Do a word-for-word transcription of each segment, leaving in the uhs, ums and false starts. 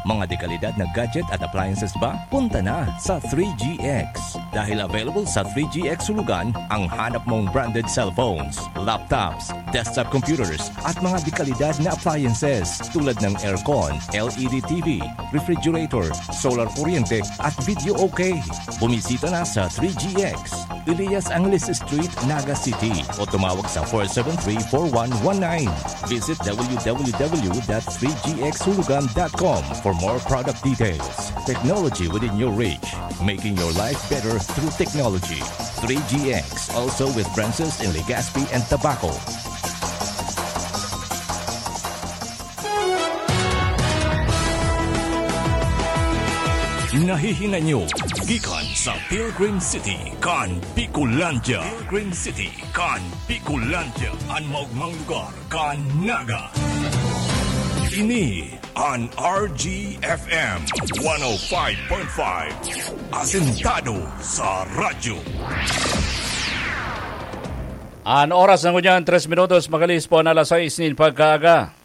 Mga dekalidad na gadget at appliances ba? Punta na sa three G X. Dahil available sa three G X Hulugan ang hanap mong branded cellphones, laptops, desktop computers, at mga dekalidad na appliances tulad ng aircon, L E D T V, refrigerator, solar kuryente, at video okay. Bumisita na sa three G X, Elias Angeles Street, Naga City, o tumawag sa four seven three, four one one nine. Visit W W W dot three G X hulugan dot com for more product details. Technology within your reach, making your life better through technology. Three G X, also with branches in Legazpi and Tabaco. Nahihinay nyo gikan sa Pilgrim City kan Bicolandia. Pilgrim City kan Bicolandia, an maogmang lugar kan Naga. Ini an R G F M one oh five point five, asentado sa radyo. An oras na ngunyan, tres minutos, makalihis po an alas sais nin pagkaaga.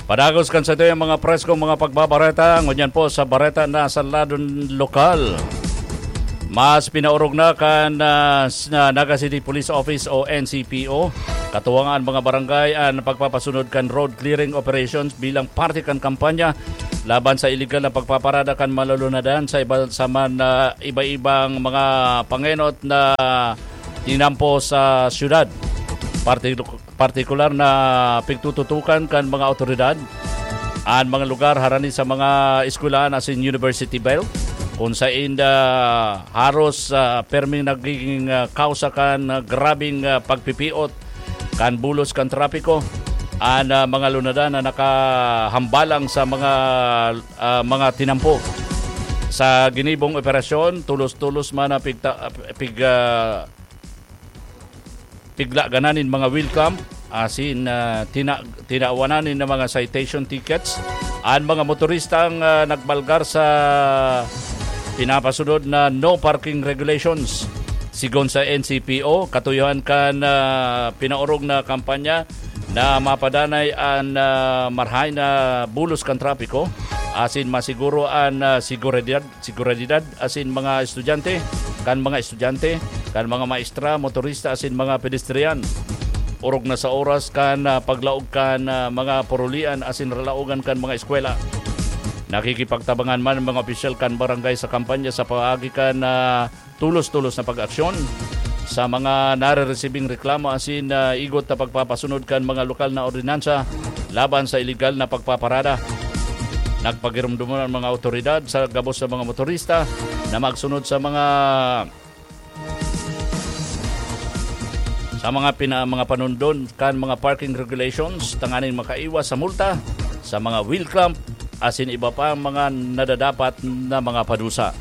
Padagos kan satuyang mga preskong mga pagbabareta, ngunyan po sa bareta na sa ladon lokal. Mas pinaorog na kan, ah, s-, na Naga City Police Office o N C P O, katuwangan mga barangay an pagpapasunod kan road clearing operations bilang parte kan kampanya laban sa iligal na pagpaparada kan malunadan sa iba, sa man, ah, iba-ibang mga pangenot na tinampo sa syudad. Parti-, partikular na pigtututukan kan mga awtoridad an mga lugar harani sa mga eskwelahan asin university belt, kun sainda haros, ah, perming nagiging, ah, kausa kan, ah, grabeng, ah, pagpipiot kan bulos kan trapiko an, ah, mga lunadan na nakahambalang sa mga, ah, mga tinampo. Sa ginibong operasyon, tulos-tulos man na pigta-, pig-, ah, piglaganan nin mga wheel clamp, asin, ah, tina-, tinawanan nin mga citation tickets an mga motoristang, ah, nagbalgar sa pinapasunod na no parking regulations. Sigon sa N C P O, katuyohan kan, ah, pinaorog na kampanya na mapadanay an, ah, marahay na bulos kan trapiko asin masiguro an, ah, seguridad seguridad asin mga estudyante, kan mga estudyante, kan mga maestra, motorista asin mga pedestrian. Orog na sa oras kan, ah, paglaog kan, ah, mga purulian asin ralaogan kan mga eskwela. Nakikipagtabangan man ang mga opisyal kan barangay sa kampanya sa paagi kan, ah, tulos-tulos na pag-aksyon sa mga nareresibing reklamo asin, ah, igot na pagpapasunod kan mga lokal na ordinansa laban sa iligal na pagpaparada. Nagpagirumdom an mga awtoridad sa gabos na mga motorista na magsunod sa mga, sa mga pina-, mga panundon kan mga parking regulations tanganing makaiwas sa multa, sa mga wheel clamp, asin iba pang mga nadadapat na mga padusa.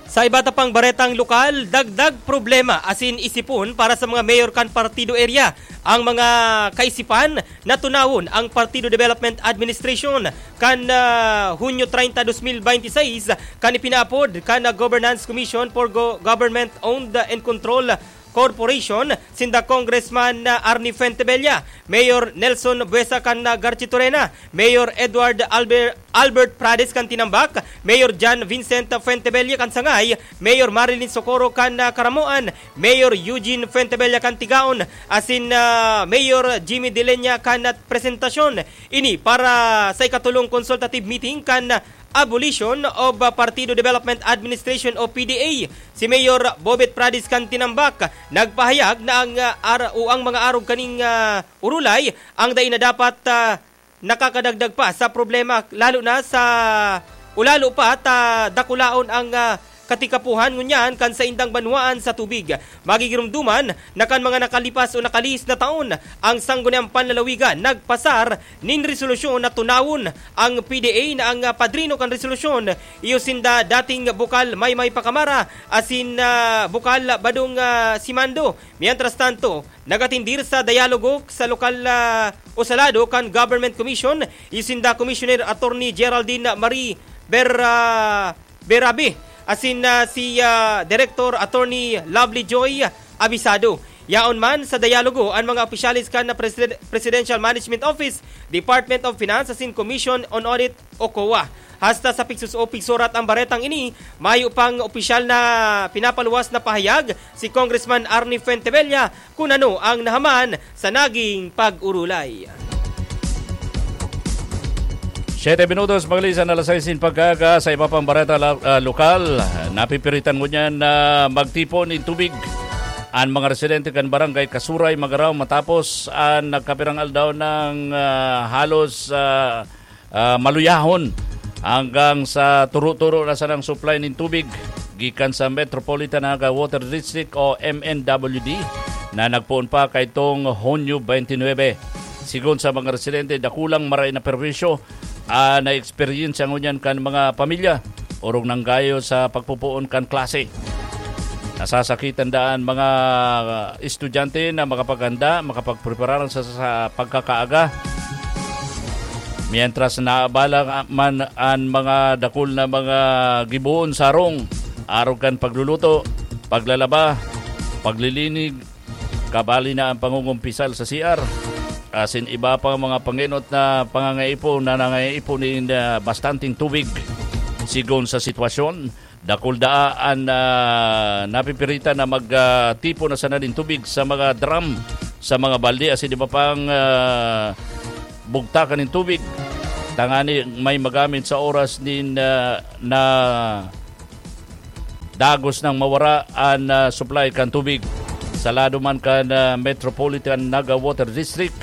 Sa iba ta pang baretang lokal, dagdag problema asin isipon para sa mga mayor kan partido area ang mga kaisipan na tunawon ang Partido Development Administration kan, ah, Hunyo treinta, dos mil bente seis, kan ipinaapod kan, ah, Governance Commission for Go-, Government Owned and Control Corporation, sinda Congressman, ah, Arnie Fuentebella, Mayor Nelson Buesa kan, ah, Garchitorena, Mayor Edward Albert, Albert Prades kan Tinambac, Mayor John Vincent Fuentebella kan Sangay, Mayor Marilyn Socorro kan, ah, Caramoan, Mayor Eugene Fuentebella kan Tigaon, asin, ah, Mayor Jimmy Deleña kan, ah, Presentacion. Ini para sa ikatulong consultative meeting kan, ah, Abolition of, ah, Partido Development Administration o P D A. Si Mayor Bobet Prades kan Tinambac nagpahayag na ang, ah, ar-, o ang mga arog kaning, ah, urulay ang dai na dapat, ah, nakakadagdag pa sa problema, lalo na sa, o lalo pa ta dakulaon ang, ah, katikapuhan ngunyan kan saindang banwaan sa tubig. Magigirumduman na kan mga nakalipas o nakalihis na taon, ang Sangguniang Panlalawigan nagpasar nin resolusyon na tunawon ang P D A na ang, ah, padrino kan resolusyon iyo sinda dating bukal Maymay Pacamara asin, ah, bukal Badong, ah, Simando. Mientras tanto, nagatindir sa dialogo sa lokal, ah, o sa lado kan Government Commission, iyo sinda Commissioner Attorney Geraldine Marie Ber-, ah, Berabe, asin na si, ah, Director Attorney Lovely Joy Abisado. Yaon man sa dialogo an mga opisyales kan na Presiden-, Presidential Management Office, Department of Finance asin Commission on Audit o COA. Hasta sa pigsus-, o pigsurat ang baretang ini, mayo pang opisyal na pinapaluwas na pahayag si Congressman Arnie Fuentebella kun ano ang nahaman sa naging pag-urulay. Siyete minutos, maglisan alas sais nin pagkaaga. Sa iba pang bareta la-, ah, lokal, napipiritan ngunyan na magtipon nin tubig an mga residente kan Barangay Kasuray, Magarao, matapos an nagkapirang aldaw nang, ah, halos, ah, ah, maluyahon hanggang sa turo-turo na sanang supply nin tubig gikan sa Metropolitan Naga Water District o M N W D na nagpoon pa kaitong Hunyo twenty-nine. Sigon sa mga residente, dakulang maray na perwisyo an naeksperyensya ngunyan kan mga pamilya, orog nanggayo sa pagpupoon kan klase. Nasasakitan daan mga estudyante na makapaghanda, makapagpreparar sa, sa pagkakaaga. Mientras naabala man an mga dakul na mga giboon sarong, arog kan pagluluto, paglalaba, paglilinig, kabali na ang pangungumpisal sa C R, asin iba pang mga pangenot na pangangaipo na nangaipo nin, ah, bastanteng tubig. Sigon sa sitwasyon, dakul daa an, ah, napipiritan na mag, ah, tipon na sana nin tubig sa mga drum, sa mga balde, asin iba pang, ah, bugtakan nin tubig, tangani may magamit sa oras nin, ah, na dagos nang mawara an, ah, supply kan tubig. Sa lado man kan, ah, Metropolitan Naga Water District,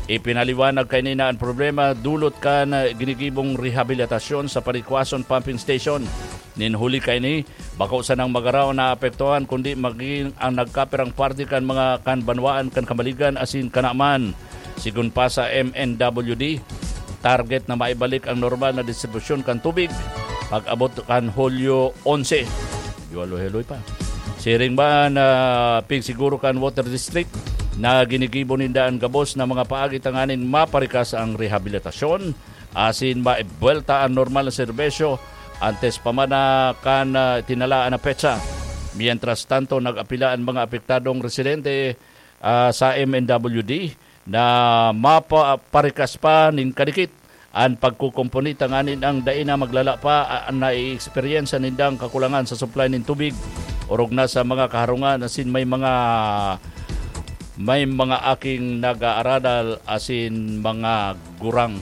ipinaliwanag kaini na an problema dulot kan, ah, ginigibong rehabilitasyon sa Panikwason Pumping Station. Nin huli kaini, bako sanang Magarao na apektuhan, kundi magin ang nagkapirang parte kan mga kan banwaan kan Kamaligan asin Kanaman. Sigon pa sa M N W D, target na maibalik ang normal na distribusyon kan tubig pag-abot kan Hulyo onse. Medyo aloy-aloy pa. Siring man, ah, pigsiguro kan Water District na ginigibo ninda an gabos na mga paagi tanganing maparikas ang rehabilitasyon asin maibuwelta an normal na serbisyo antes pa man na kan, ah, tinalaan na petsa. Mientras tanto, nag-apila an mga apektadong residente, ah, sa M N W D na mapa-, parikas pa nin kadikit an pagkukumpuni tanganing dai na maglala pa, ah, an naieksperiyensa nindang kakulangan sa supply nin tubig, orog na sa mga kaharungan asin may mga, may mga aking nag-aaradal asin mga gurang.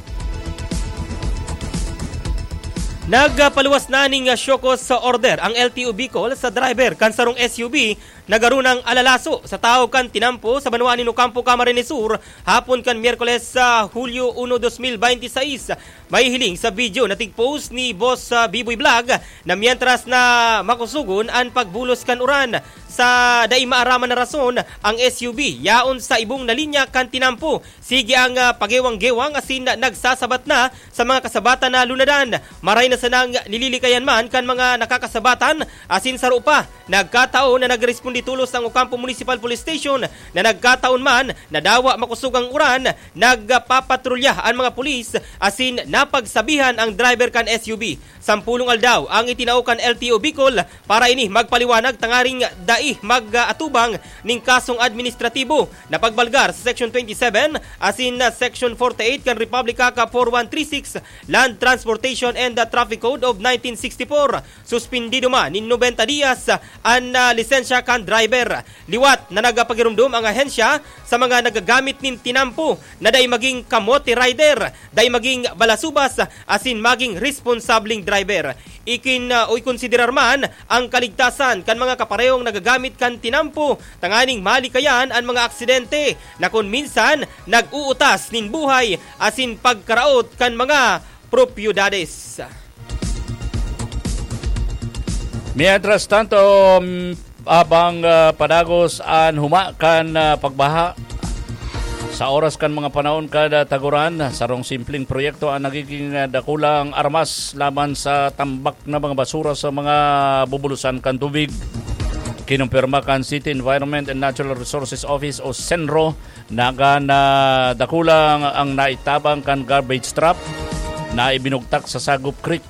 Nagpaluwas na ning show cause order ang L T O Bicol sa driver kan sarong S U V na garo nang alalaso sa tahaw kan tinampo sa banwaan nin Ocampo, Camarines Sur, hapon kan Miyerkules sa Hulyo uno, dos mil bente seis. Mahihiling sa video na tig-post ni Boss, ah, Biboy Vlog na mientras na makusugon an pagbulos kan uran sa dai maaraman na rason, ang S U V yaon sa ibong na linya kan tinampo. Sige ang, ah, pagewang-gewang asin nagsasabat na sa mga kasabatan na lunadan. Maray na sanang nililikayan man kan mga nakakasabatan asin saro pa. Nagkataon na nagresponde tolos ang Ocampo Municipal Police Station na nagkataon man na dawa makosog ang uran, nagpapatrolya an mga pulis asin napagsabihan ang driver kan S U V. Sampolong aldaw ang itinao kan L T O Bicol para ini magpaliwanag tangaring dai mag-atubang ning kasong administratibo na pagbalgar sa Section twenty-seven asin na Section forty-eight kan Republic Act four one three six, Land Transportation and Traffic Code of nineteen sixty-four. Suspindido man nin nobenta dias an, ah, lisensya kan driver. Liwat na nagpagiromdom ang ahensya sa mga nagagamit nin tinampo na dai maging kamote rider, dai maging balasubas, asin maging responsableng driver. Ikin, ah, o ikonsiderar man ang kaligtasan kan mga kaparehong nagagamit kan tinampo tanganing malikayan an mga aksidente na kun minsan nag-uutas nin buhay asin pagkaraot kan mga propiedades. Mientras tanto, mm, abang, ah, padagos an huma kan, ah, pagbaha, sa oras kan mga panahon kada taguran, sarong simpleng proyekto ang nagiging, ah, dakulang armas laban sa tambak na mga basura sa mga bubulusan kan tubig. Kinumpirma kan City Environment and Natural Resources Office o CENRO na kan, ah, dakula ang, ang naitabang kan garbage trap na ibinugtak sa Sagup Creek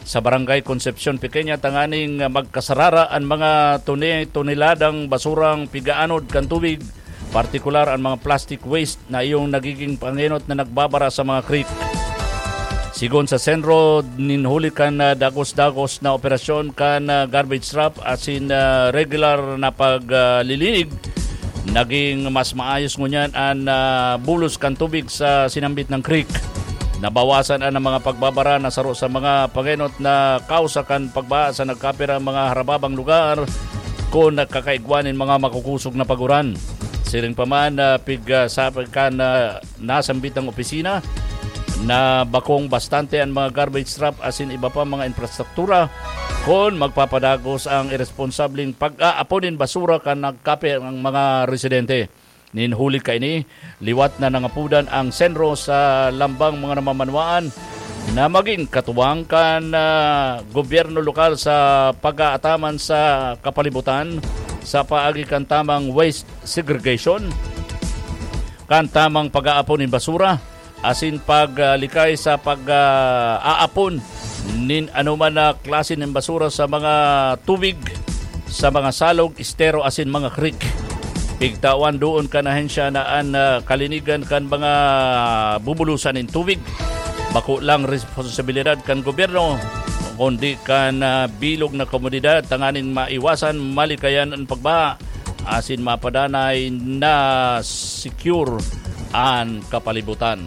sa Barangay Concepcion Pequeña tanganing magkasarara an mga tuni-, toneladang basurang pigaanod kan tubig, partikular an mga plastic waste na iyong nagiging pangenot na nagbabara sa mga creek. Sigon sa Senro, nin huli kan, ah, dagos-dagos na operasyon kan, ah, garbage truck asin, ah, regular na paglilinig, naging mas maayos ngunyan an, ah, bulos kan tubig sa sinambit na creek. Nabawasan an mga pagbabara na saro sa mga pangenot na kausa kan pagbaha sa nagkapirang mga harababang lugar kun nagkakaigwa nin mga makukusog na paguran. Siring pa man, ah, pig, ah, sa kan, ah, nasambitang opisina na bakong bastante an mga garbage truck asin iba pa mga infrastruktura kun magpapadagos ang iresponsableng pag-aapon nin basura kan nagkape ang mga residente. Nin huli kaini, liwat na nangapudan ang Senro sa lambang mga namamanwaan na magin katuwang kan, ah, gobyerno lokal sa pag-aataman sa kapalibutan sa paagi kan tamang waste segregation, kan tamang pag-aapon nin basura, asin paglikay sa pag, ah, aapon nin anoman na klase nin basura sa mga tubig, sa mga salog, estero asin mga creek. Pigtawan doon kan ahensya na an, ah, kalinigan kan mga bubulosan nin tubig bako lang responsibilidad kan gobyerno, kundi kan, ah, bilog na komunidad tanganing maiwasan malikayan an pagbaha asin mapadanay na secure an kapalibutan.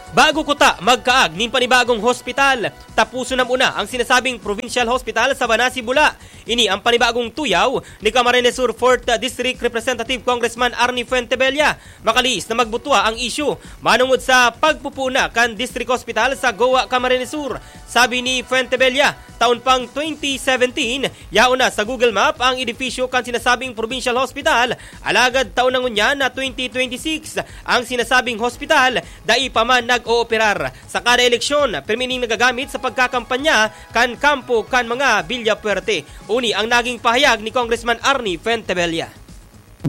Bago kuta magkaag nin panibagong hospital, taposon na muna ang sinasabing Provincial Hospital sa Banasi, Bula. Ini ang panibagong tuyaw ni Camarines Sur Fourth District Representative Congressman Arnie Fuentebella. Makalihis na magbutwa ang isyu manongod sa pagpupuon na kan District Hospital sa Goa, Camarines Sur. Sabi ni Fuentebella, taon pang twenty seventeen, yaon na sa Google Map ang edifisyo kan sinasabing Provincial Hospital, alagad taon na ngunyan na twenty twenty-six, ang sinasabing hospital dai pa man nag-ooperar. Sa kada eleksyon, pirmi ning nagagamit sa pagkakampanya kan kampo kan mga Villafuerte. Uni ang naging pahayag ni Congressman Arnie Fuentebella.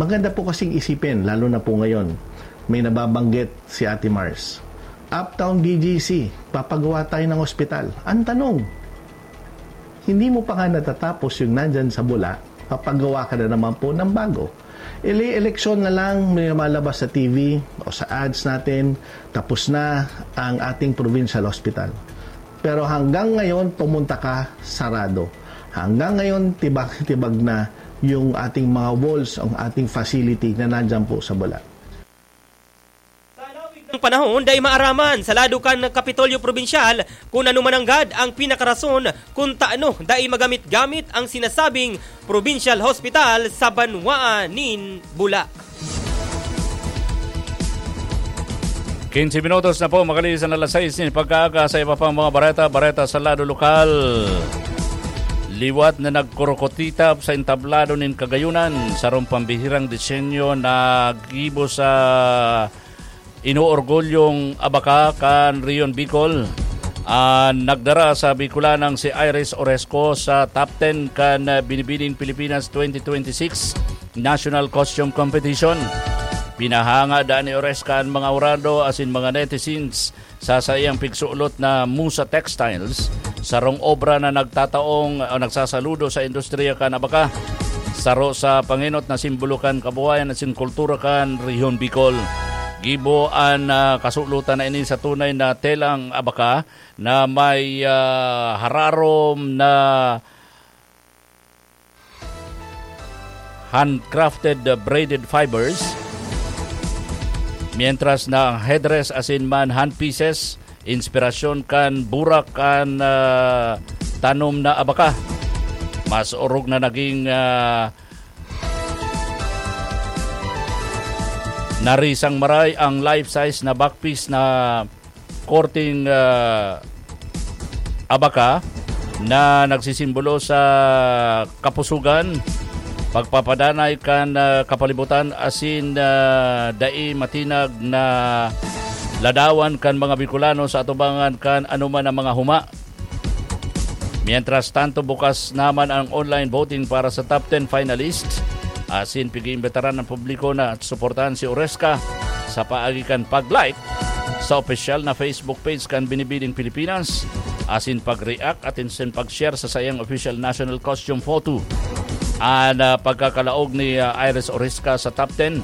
Maganda po kasing isipin, lalo na po ngayon, may nababanggit si Ate Mars. Uptown B G C, papagawa tayo ng ospital. Ang tanong, hindi mo pa nga natatapos yung nandyan sa Bula, papagawa ka na naman po ng bago. Ele-eleksyon na lang, may lumalabas sa T V o sa ads natin, tapos na ang ating provincial hospital. Pero hanggang ngayon, pumunta ka, sarado. Hanggang ngayon, tibag-tibag na yung ating mga walls, ang ating facility na nandyan po sa Bula. Ang panahon, dai maaraman sa lado kan Kapitolyo Probinsyal kun ano mananggad ang pinakarason kun taano dai magamit-gamit ang sinasabing Provincial Hospital sa banwaan nin Bula. Quince minutos na po, makalihis na alas sais nin pagkaaga. Sa iba pang mga bareta, bareta sa lado lokal. Liwat na nagkurukutitap sa entablado nin Kagayunan, sarong pambihirang disenyo na gibo sa inuorgolyong abaka kan Rehiyon Bicol. An nagdara sa Bicolanang si Iris Oresco sa top ten kan Binibining Pilipinas twenty twenty-six National Costume Competition. Pinahanga daa ni Oresca an mga hurado asin mga netizens sa saiyang pigsulot na Musa Textiles, sarong obra na nagtataong o nagsasaludo sa industriya kan abaka, saro sa pangenot na simbolo kan kabuhayan asin kultura kan Rehiyon Bicol. Gibo an, ah, kasulotan na ini sa tunay na telang abaka na may, ah, hararom na handcrafted, uh, braided fibers, mientras na ang headdress asin man handpieces, inspirasyon kan burak kan, uh, tanom na abaka. Mas orog na naging, uh, narisang maray ang life-size na backpiece na korteng, ah, abaka na nagsisimbolo sa kapusugan, pagpapadanay kan, ah, kapalibutan asin, ah, dai matinag na ladawan kan mga Bicolano sa atubangan kan anoman na mga huma. Mientras tanto, bukas naman ang online voting para sa top ten finalists. Asin pig-iimbitaran ang publiko na suportahan si Oresca sa paagi kan pag-like sa opisyal na Facebook page kan Binibining Pilipinas, asin pag-react asin pag-share sa saiyang official national costume photo. An, ah, pagkakalaog ni, ah, Iris Orisca sa top ten,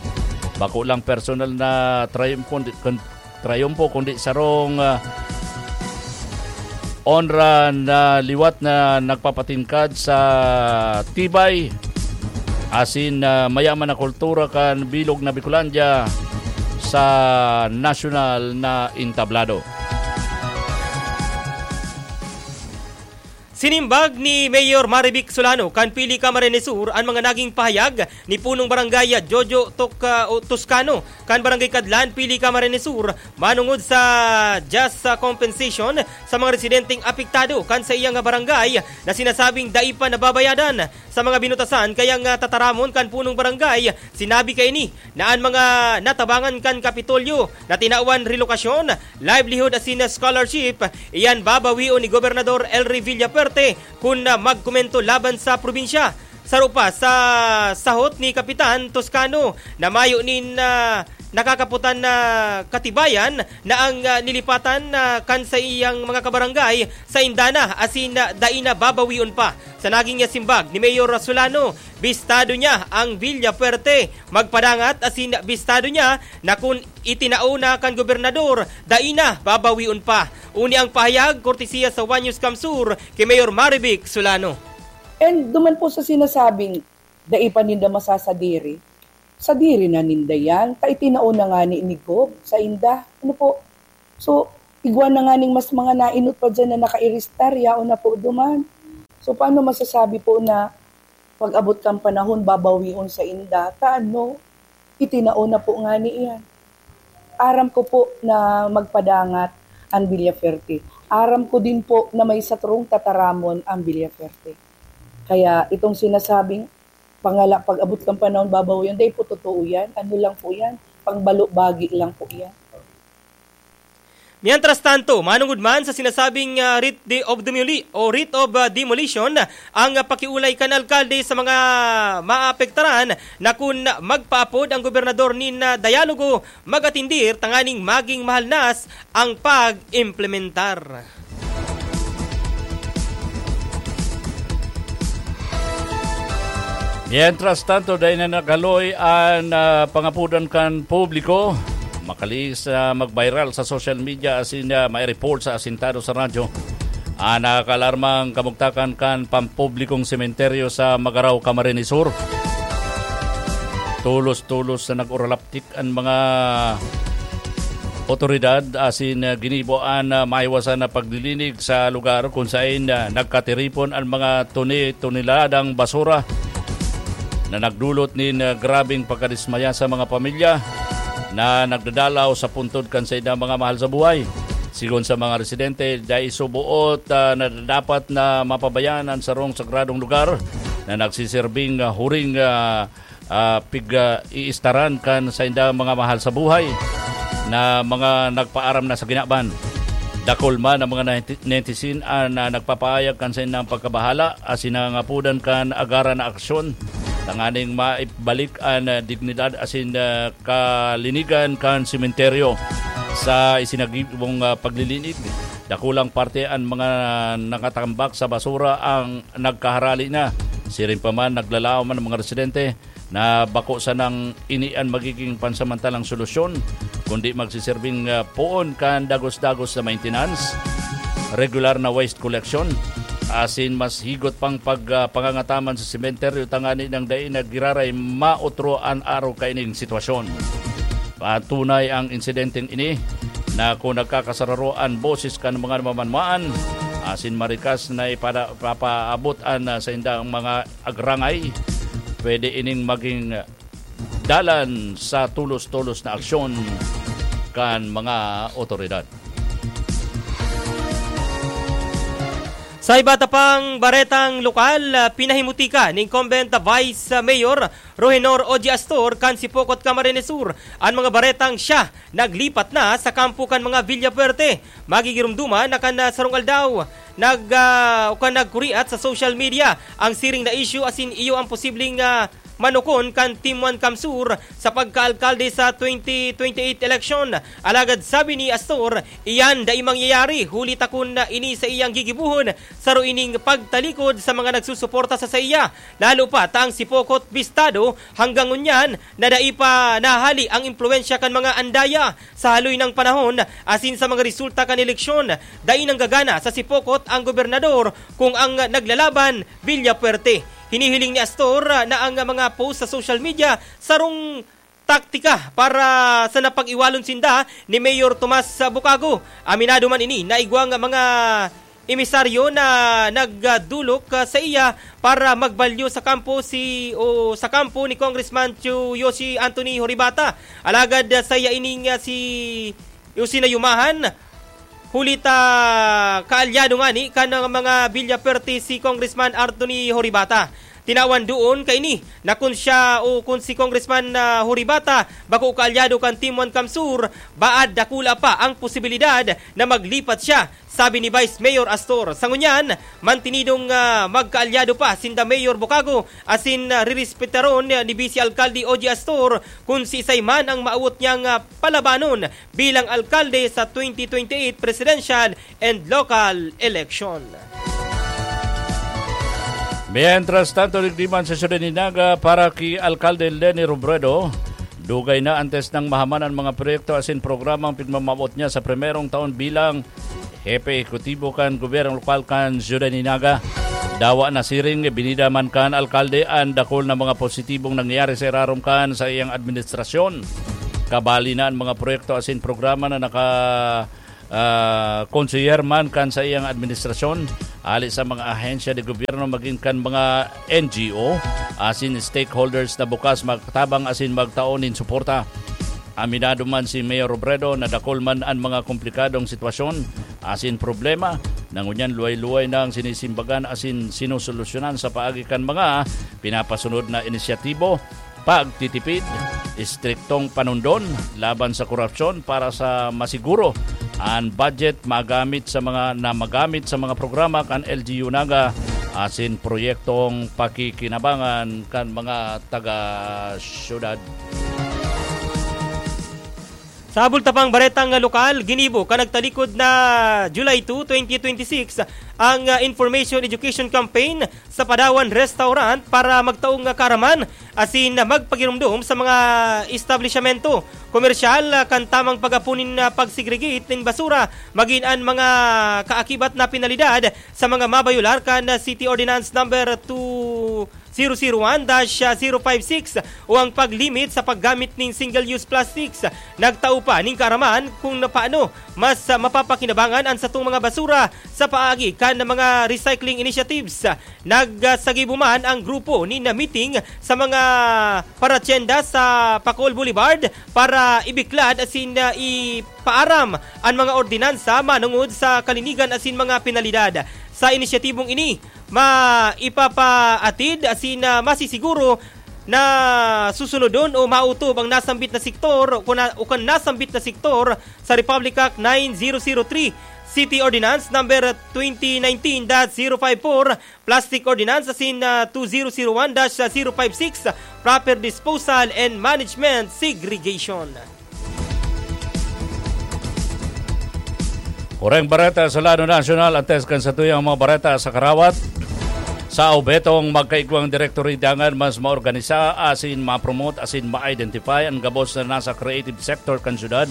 bako lang personal na triumphant, kun-, triumpo, kundi sarong, ah, onra na liwat na nagpapatingkad sa tibay asin, ah, mayaman na kultura kan bilog na Bicolandia sa nasyonal na entablado. Sinimbag ni Mayor Marivic Solano kan Pili Camarines Sur an mga naging pahayag ni Punong Barangay Jojo Tok-, ah, o Toscano kan Barangay Kadlan, Pili Camarines Sur, manungod sa just, ah, compensation sa mga residenteng apektado kan sa iyang barangay na sinasabing dai pa nababayadan. Sa mga binutasan kayang, ah, tataramon kan Punong Barangay, sinabi kaini na an mga natabangan kan Kapitolyo na tinawan relokasyon, livelihood asin scholarship, iyan babawion ni Gobernador Elry Villafuerte kun, ah, magkomento laban sa probinsya. Saro pa sa sahot ni Kapitan Toscano na mayo nin, ah, nakakaputan na katibayan na ang, ah, nilipatan, ah, kan sa iyang mga kabarangay sa indana asin, ah, dai na babawion pa. Sa naging simbag ni Mayor Solano, bistado niya ang Villafuerte magpadangat asin bistado niya na kun itinao na kan gobernador, dai na babawion pa. Uni ang pahayag, kortesiya sa One News Kamsur, ki Mayor Marivic Solano. And duman po sa sinasabing, dai pa ninda masasadiri, sadiri na ninda yan. Ta itinao na nga ni, ni Gob sa inda. Ano po? So, igwa na nga ning mas mga nainot pa dyan na nakairistar, yaon na po duman. So, paano masasabi po na pag-abot kan panahon, babawion sa inda? Ta ano? Itinao na po nga ni iyan. Aram ko po na magpadangat ang Villafuerte. Aram ko din po na may satrong tataramon ang Villafuerte. Kaya itong sinasabing pangala, pag-abot kan panahon, babawion, dai po totoo yan. Ano lang po yan? Pangbalo-bagi lang po yan. Mientras tanto, manungod man sa sinasabing, ah, writ de, of demoli-, o writ of, ah, demolition, ang, ah, pakiolay kan alkalde sa mga maapektaran na kun magpaapod ang gobernador nin, ah, dialogo, mag-atindir tanganing maging mahalnas ang pag-implementar. Mientras tanto, dai na naghaloy an, ah, pangapodan kan publiko. Makalihis na mag-viral sa social media asin, ah, mai-report sa asintado sa radyo. An nakakaalarmang kamugtakan kan pampublikong sementeryo sa Magarao, Camarines Sur. Tulos-tulos na nag-uralap tik an mga otoridad asin, ah, ginibo an, ah, maiwasan na paglilinig sa lugar kun saen, ah, nagkatiripon an mga toni-toniladang basura na nagdulot nin, ah, grabeng pagkadismaya sa mga pamilya na nagdadalaw sa puntod kan saindang mga mahal sa buhay. Sigon sa mga residente, dai suboot, ah, na dapat na mapabayaan an sarong sagradong lugar na nagsiserbing, ah, huring, ah, ah, pig, ah, iistaran kan saindang mga mahal sa buhay na mga nagpaaram na sa kinaban. Dakul man ang mga neti-, netizen, ah, na nagpapahayag kan saindang pagkabahala asin nangangapodan kan agaran na aksyon tanganing maibalik an, ah, dignidad asin, ah, kalinigan kan sementeryo. Sa isinagibong, ah, paglilinig, dakulang parte an mga nakatambak sa basura ang nagkaharali na. Siring pa man, naglalaom an mga residente na bako sanang ini an magiging pansamantalang solusyon, kundi magsiserbing, ah, poon kan dagos-dagos na maintenance, regular na waste collection, asin mas higot pang pag, ah, pangangataman sa sementeryo tanganing dai na giraray maotro an arog kaining sitwasyon. Patunay ang insidenteng ini na kun nagkakasararo an boses kan mga namamanmaan, asin marikas na ipada-, papaabot an, ah, saindang mga agrangay, pwede ining maging dalan sa tulos-tulos na aksyon kan mga otoridad. Sa iba ta pang baretang lokal, ah, pinahimutika ni incumbent Vice Mayor Rohenor Oji Astor kan Sipocot, Camarines Sur an mga baretang siya naglipat na sa kampo kan mga Villafuerte. Magigiromdoman na kan, ah, sarong aldaw. nag, ah, o kan nagkuriat sa social media ang siring na issue asin iyo ang posibleng, ah, manukon kan Team One CamSur sa pagkaalkalde sa twenty twenty-eight election. Alagad sabi ni Astor, iyan dai mangyayari, huli ta kun ini saiyang gigibohon, saro ining pagtalikod sa mga nagsusuporta sa saiya. Lalo pa ta ang si Pocot bistado hanggang ngunyan na dai pa nahali ang impluwensya kan mga andaya sa haloy nang panahon asin sa mga resulta kan eleksyon. Dai nanggagana sa si Pocot ang gobernador kung ang naglalaban, Villafuerte. Hinihiling ni Astor na ang mga post sa social media sarong taktika para sa napag-iwalon sinda ni Mayor Tomas Bukago. Aminado man ini na igwang mga emisaryo na nagdulok, ah, sa iya para magbalyo sa kampo si, o sa kampo ni Congressman Chu Yoshi Anthony Horibata. Alagad, ah, sa iya ining, ah, si Yoshi na yumahan, huli ta kaalyado ngani kan mga Villafuerte si Congressman Anthony Horibata. Tinawan doon kaini na kun siya o kun si Congressman, ah, Horibata bako kaalyado kan Team One CamSur, baad dakula pa ang posibilidad na maglipat siya, sabi ni Vice Mayor Astor. Sa ngunyan, mantinidong, ah, magkaalyado pa sinda Mayor Bukago asin, ah, rerespetaron ni Vice Alkalde Ogie Astor kun siisay man ang maawot niyang, ah, palabanon bilang alkalde sa twenty twenty-eight presidential and local election. Mientras tanto, digdi man sa Siyudad ni Naga, para ki Alkalde Leni Robredo, dugay na antes nang mahaman an mga proyekto asin programang pigmamawot niya sa primerong taon bilang Hepe Ehekutibo kan Gobyerno Lokal kan Siyudad ni Naga. Dawa na siring, binida man kan alkalde an dakul na mga positibong nangyari sa irarom kan sa iyang administrasyon. Kabali na an mga proyekto asin programa na naka, ah, konseyer man kan sa iyang administrasyon, hali sa mga ahensya de gobyerno magin kan mga N G O asin stakeholders na bukas magtabang asin magtao nin suporta. Aminado man si Mayor Robredo na dakul man an mga komplikadong sitwasyon asin problema na ngunyan luway-luway nang sinisimbagan asin sinusolusyonan sa paagi kan mga pinapasunod na inisyatibo, pagtitipid, istriktong panundon laban sa korupsyon para sa masiguro an budget magamit sa mga, na magamit sa mga programa kan L G U Naga asin proyektong pakikinabangan kan mga taga-syudad. Sa bulta pang baretang lokal, ginibo kan nagtalikod na July two, twenty twenty-six ang, ah, Information Education Campaign sa Padawan Restaurant para magtaong kaaraman asin magpagiromdom sa mga establisyamento komersyal, ah, kan tamang pag-apon nin, ah, pag-segregate nin basura, magin an mga kaakibat na penalidad sa mga mabayolar kan, ah, City Ordinance Number two zero zero one dash zero five six o ang pag-limit sa paggamit nin single-use plastics. Nagtao pa nin kaaraman kung na paano mas, ah, mapapakinabangan an satong mga basura sa paagi kan mga recycling initiatives. Nagsagibo man ang grupo nin meeting sa mga paratyenda sa Pacol Boulevard para ibiklad asin, ah, ipaaram an mga ordinansa manungod sa kalinigan asin mga penalidad. Sa inisyatibong ini, maipapaatid asin, ah, masisiguro na susunodon o mautob ang nasambit na sektor o kun na, o kan nasambit na sektor sa Republic Act nine zero zero three, City Ordinance Number twenty nineteen dash zero five four, Plastic Ordinance asin, ah, two zero zero one dash zero five six, Proper Disposal and Management Segregation. Oreng bareta sa lado nasyonal, antes kan satuyang mga bareta sa karawat. Sa obhetong magkaigwang direktory, dangan mas maorganisa asin ma-promote asin ma-identify an gabos na nasa creative sector kan syudad.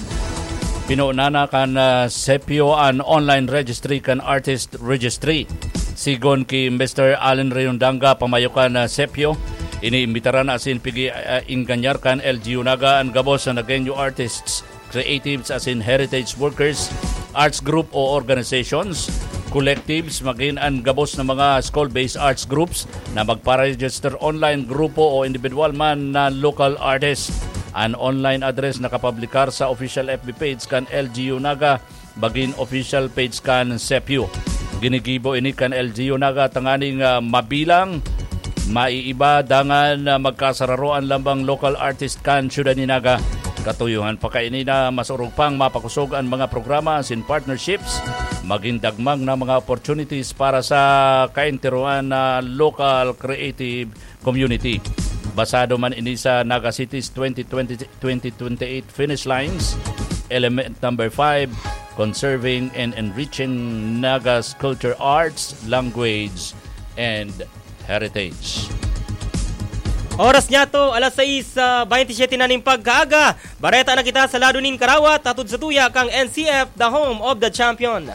Pinunan na kan, ah, sepyo an online registry kan artist registry. Sigon ki Mister Allen Rayondanga, pamayo kan, ah, sepyo, iniimbitaran asin pigi, ah, inganyar kan L G U Naga an gabos na Nagueño artists, creatives asin heritage workers, arts group o organizations, collectives, magin an gabos na mga school-based arts groups na magpa-register online, grupo o individual man na local artist. An online address nakapublikar sa official F B page kan L G U Naga, bagin official page kan sepyo. Ginigibo ini kan L G U Naga tanganing, ah, mabilang, maiiba, dangan, ah, magkasararo an lambang local artist kan syudad ni Naga. Katuyohan pa kaini na mas orog pang mapakosog an mga programa asin partnerships, magin dagmang na mga opportunities para sa kaenterohan na local creative community. Basado man ini sa Naga City's twenty twenty, twenty twenty-eight finish lines, element number five, conserving and enriching Naga's culture, arts, language, and heritage. Oras niya to, alas sais, ah, baynte siyete na nin pagkaaga. Bareta na kita sa lado nin karawat, hatod sa tuya kang N C F, the home of the champion.